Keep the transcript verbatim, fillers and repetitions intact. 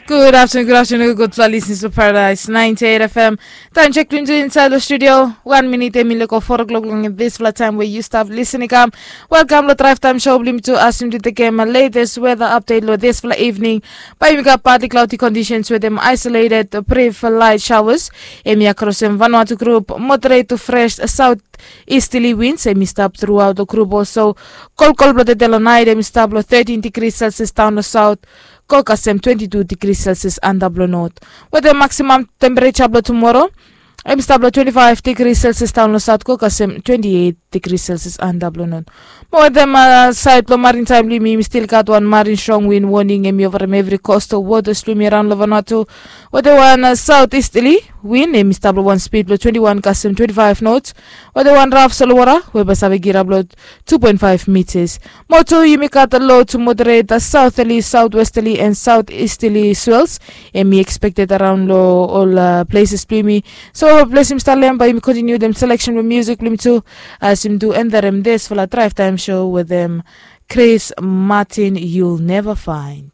Gud aftenun, gud aftenun, gudfala lisnis blong Paradise ninety eight F M. Taem jek blong yu insaed long studio, wan minit em i lego four o'clock long disfala taem we yu stap lisin i kam. Welkam long Drive Time Show blong yumi tu. As yumi tu tekem latest weather update long disfala evening, bae yumi gat partly cloudy conditions with them isolated brief light showers. Em i across em Vanuatu group, moderate to fresh south easterly winds em i stap throughout the group also. Kolkol blong tede long naet em i stap long thirteen degrees Celsius daon long south go kasem twenty two degrees Celsius antap long north. Wetem maximum temperature blong tumoro em i stap long twenty five degrees Celsius daon long south go kasem twenty eight degrees Celsius antap long north. Mo wetem saed blong marin taem blong yumi, yumi stil gat wan marin strong win woning em i ovarem evri coastal waters blong yumi araon long Vanuatu. Wetem wan south easterly win em i stap long wan spid blong twenty one kasem twenty five knots. Wetem wan raf solowara we bae save girap long two point five meters. Mo tu yumi gat low to moderate southerly, southwesterly and southeasterly swells em i expected araon long ol places blong yumi. So ples yumi stap long em, bae yumi continue dem selection blong music blong yumi tu as yumi tu endarem disfala Drive Time Show wetem Chris Martin, You'll Never Find.